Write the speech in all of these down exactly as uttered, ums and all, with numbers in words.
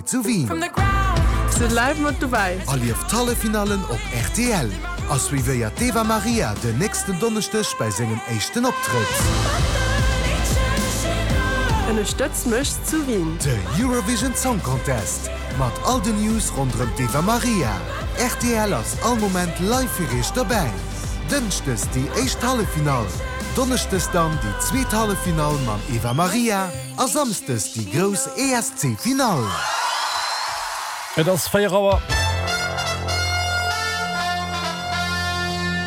Zu Wien. Sidd live mat dobäi. Erlieft d'Halleffinallen op rtl a suivéiert d'Eva Marija den nächsten Donneschdeg bei sengem éischten Optrëtt. Ënnerstëtz mech zu Wien. De Eurovision Song Contest mat all den News ronderëm d'Eva Marija. Rtl ass all Moment live fir iech dobäi. Dënschdes déi éischt Halleffinall, Donneschdes dann déi zweet Halleffinall mam Eva Marija a Samsdes déi grouss E S C-Finall. Et ass véier Auer.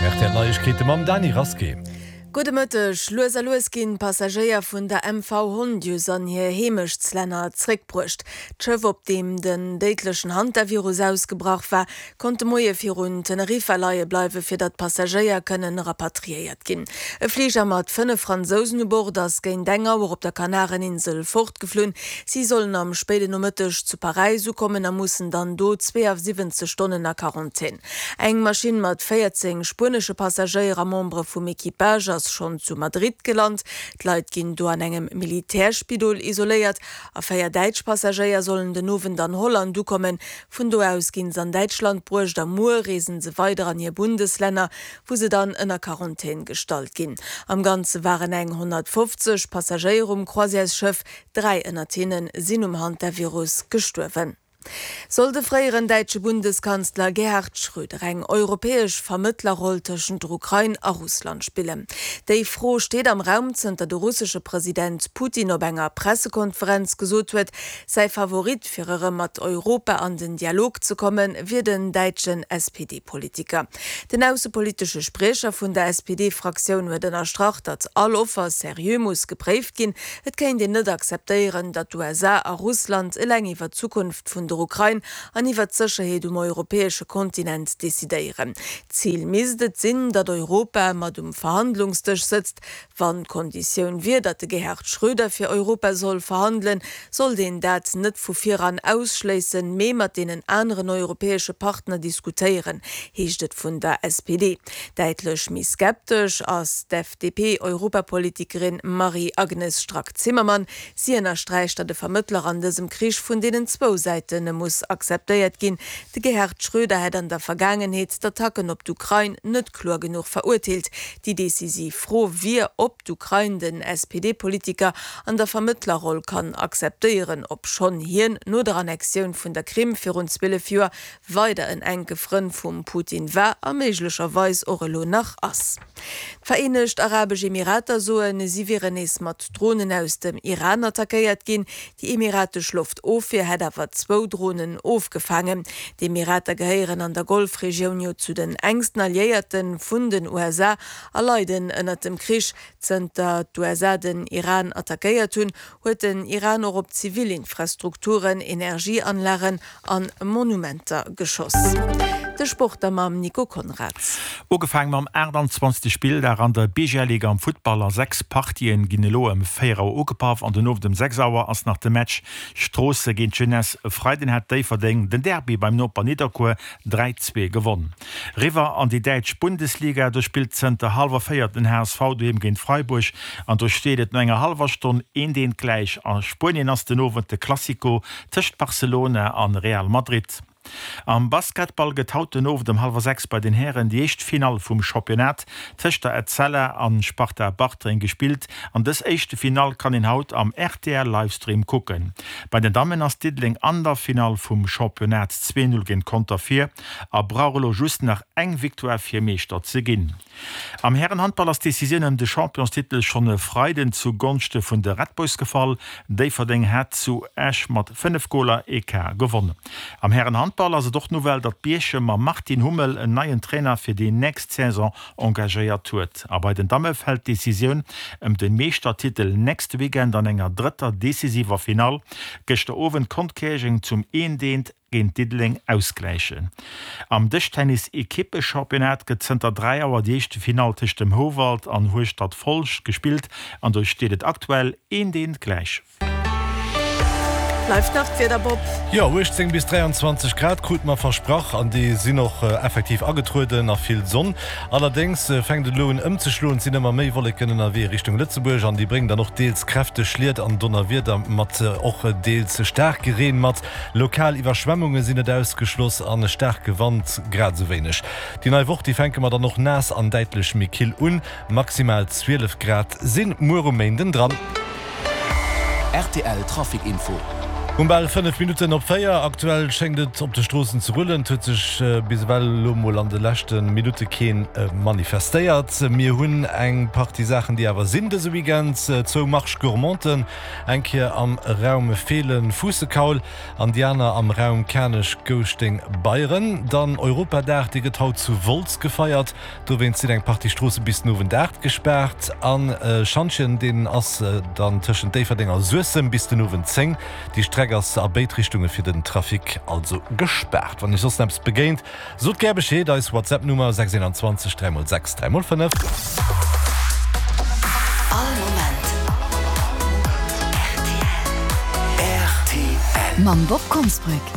R T L Neiegkeete mam Dany Rasqué. Gudde Mëtteg. Lues a lues ginn d'Passagéier vun der M V Hondius an hir Heemechtslänner zréckbruecht. D'Schëff, op deem den déidlechen Hantavirus ausgebrach war, konnt de Moie virun Teneriffa leie bleiwe fir datt d'Passagéier kënnen rapatriéiert ginn. E Fliger mat fënnef Fransousen u Bord ass géint eng Auer op der Kanareninsel fortgeflunn. Si sollen am spéiden Nomëtteg zu Paräis ukommen a mussen dann do zweeasiwwenzeg Stonnen a Quarantän. Eng Maschinn mat véierzéng spuenesche Passagéier a Membere vum Equipage ass schonn zu Madrid gelant. D'Leit ginn do an engem Militärspidol isoléiert a véier däitsch Passagéier sollen den Owend an Holland ukommen. Vun do aus ginn se an Däitschland bruecht a muer reesen se weider an hir Bundeslänner, wou se dann ënner Quarantän gestallt ginn. Am Ganze waren eng honnertfofzeg Passagéier um Croisièresschëff, dräi ënnert hinne sinn um Hantavirus gestuerwen. Soll de fréieren däitsche Bundeskanzler Gerhard Schröder eng europäesch Vermëttlerroll tëschent der Ukrain a Russland spillen? Déi Fro steet am Raum, zënter de russesche President Putin op enger Pressekonferenz gesot huet, säi Favorit fir erëm mat Europa an den Dialog ze kommen, wier den däitschen S P D-Politiker. Den aussepolitesche Spriecher vun der S P D-Fraktioun huet ënnerstrach, datt all Offer seriö muss gepréift ginn. Et kéint een net akzeptéieren, datt d'U S A a Russland eleng iwwer d'Zukunft vun der Ukrain an iwwer d'Sécherheet um europäesche Kontinent decidéieren. Zil misst et sinn, datt Europa mat um Verhandlungsdësch sëtzt. Wann d'Konditioun wier, datt de Gerhard Schröder fir Europa soll verhandelen, sollt een dat net vu viran ausschléissen, mee mat deenen aneren europäesche Partner diskutéieren, heescht et vun der S P D. Däitlech méi skeptesch ass d'F D P-Europapolitikerin Marie-Agnes Strack-Zimmermann. Si ënnersträicht, datt de Vermëttler an dësem Krich vun deenen zwou Säite muss akzeptéiert ginn. De Gerhard Schröder hätt an der Vergaangenheet d'Attacken op d'Ukrain net kloer genuch verurteelt. Déi decisiv Fro wier, ob d'Ukrain den S P D-Politiker an der Vermëttlerroll kann akzeptéieren, obschonn hien no der Annexioun vun der Krim virun zwielef Joer weider en enke Frënd vum Putin war a méiglecherweis och elo nach ass. D'Vereenegt Arabesch Emirater soen, si wieren nees mat Dronen aus dem Iran attackéiert ginn. Déi emiratesch Loftofwier hätt awer zwou Dronen ofgefaangen. D'Emirater gehéieren an der Golfregioun jo zu den enksten Alliéierte vun den U S A a leiden ënnert dem Krich. Zënter d'U S A den Iran attackéiert hunn, huet den Iran och op zivil Infrastrukturen, Energieanlagen an Monumenter geschoss. De Sport da mam Nico Konrads. Ugefaange mam aachtanzwanzegste Spilldag an der B G L-Liga am Futtball. A sechs Partien ginn elo ëm véier Auer ugepaff an den Owend ëm sechs Auer ass nach de Match Stroossen géint Jeunesse. E Freiden hat Déifferdeng den Derby beim Noper Nidderkuer dräi zwee gewonn. Riwwer an déi däitsch Bundesliga, do spillt zënter hallwer véier den H S V doheem géint Freiburg an do steet et no enger hallwer Stonn eent eent gläich. A Spuenien ass den Owend de Clasico tëscht Barcelona an Real Madrid. Am Basketball gëtt haut den Owend ëm hallwer sechs bei den Hären déi éischt Finall vum Championnat tëscht der Etzella an Sparta Bartreng gespillt. An dës éischte Finall kann een haut am R T L Livestream kucken. Bei den Dammen ass Diddeleng an der Finall vum Championnat zwee null géint Conter vir a brauch elo just nach eng Victoire fir Meeschter ze ginn. Am Härenhandball ass d'Decisioun ëm de Championstitel schonn e Freiden zu Gonschte vun de Red Boys gefall. Déifferdeng hat zu Esch mat fënnef Goler Ecart gewonnen. Am Härenhandball ass et och d'Nouvelle, datt Bierchem mam Martin Hummel en neien Trainer fir déi nächst Saison engagéiert huet. A bei den Damme fält d'Decisioun ëm de Meeschtertitel nächste Weekend an enger drëtter decisiver Finall. Gëschter Owend konnt Käerjeng zum eent eent géint Diddeleng ausgläichen. Am Dëschtennis-Ekippechampionnat gëtt zënter dräi Auer déi éischte Finall tëscht dem Houwald an Hueschtert-Folscht gespillt an do steet et aktuell eent eent gläich. Bleift nach d'Wieder, Bob? Jo, uechtzéng bis dräianzwanzeg Grad krute mer versprach an déi sinn och effektiv agetrueden a vill Sonn. Allerdéngs fänkt et elo un ëmzeschloen, et sinn ëmmer méi Wolleken ënnerwee Richtung Lëtzebuerg an déi bréngen dann och deels kräfteg Schliet an Donnerwieder mat, och deels staarke Reen mat. Lokal Iwwerschwemmunge sinn net ausgeschloss an e staarke Wand grad esou wéineg. Déi nei Woch, déi fänke mer dann och naass an däitlech méi kill un, maximal zwielef Grad sinn muer um Méinden dran. Rtl Trafic Info. Um bal fënnef Minutten op véier. Aktuell schéngt et op de Stroossen ze rullen. Et huet sech bis ewell elo mol an de leschte Minutte keen manifestéiert. Mir hunn eng Partie Saachen, déi awer sinn dëse Weekend. Zwou Marche Gourmanden, eng Kéier am Raum Feelen-Fuussekaul an déi aner am Raum Kanech-Gouschteng-Beyren. Dann Europadag, dee gëtt haut zu Wolz gefeiert. Dowéinst sinn eng Partie Stroosse bis den Owend aacht gespaart. An e Schantjen, deen ass dann tëschent Déifferdeng a Suessem bis den Owend zéng. Déi Streck ass a béid Richtunge fir den Trafic also gespaart. Wann Iech soss eppes begéint, sot gär Bescheed. Eis WhatsApp-Nummer, sechs eenanzwanzeg dräi mol sechs dräi mol fënnef. All Moment rtl. Mam Bob Konsbrück.